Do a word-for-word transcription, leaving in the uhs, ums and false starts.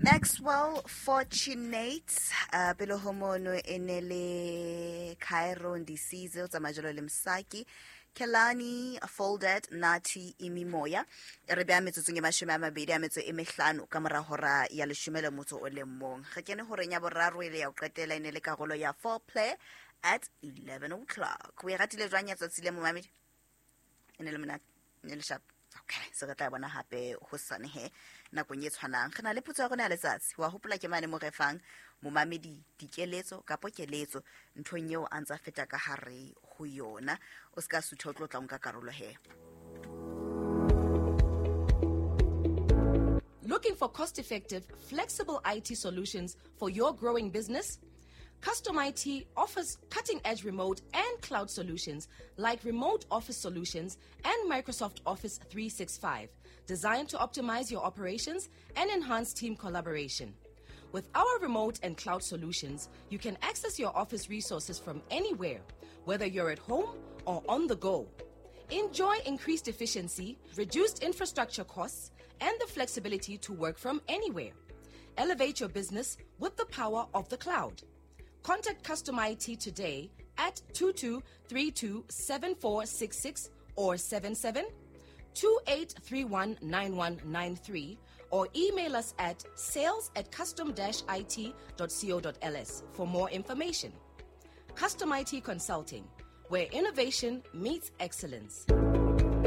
Maxwell Fortunate uh, pele ho mono e ne le Cairo Ndisize o tsamaya jalo le Msaki Kelani Folded Nati Imimoya. E re beha metsotsong e mashome a mabedi a metso e mehlano ka mora hora ya leshome le motso o le mong. Re kene horeng ya boraro e le ya ho qetela, e ne le karolo ya foreplay at eleven o'clock. O e ratile jwang ya tsatsi le, momamedi? E ne le monate, e ne le sharp. Okay, se re tla bona hape hosane he nakong e tshwanang. Re na le potso ya rona ya letsatsi. Wa hopola ke mane mo re fang momamedi dikeletso kapo keletso nthong eo a ntsa feta ka hare ho yona. O ska sutha, o tlo tla o nka karolo he. Looking for cost-effective, flexible I T solutions for your growing business? Custom I T offers cutting-edge remote and cloud solutions like remote office solutions and Microsoft Office three sixty-five, designed to optimize your operations and enhance team collaboration. With our remote and cloud solutions, you can access your office resources from anywhere, whether you're at home or on the go. Enjoy increased efficiency, reduced infrastructure costs, and the flexibility to work from anywhere. Elevate your business with the power of the cloud. Contact Custom I T today at two two three two seven four six six or seven seven two eight three one nine one nine three or email us at sales at custom dash I T dot co dot L S for more information. Custom I T Consulting, where innovation meets excellence.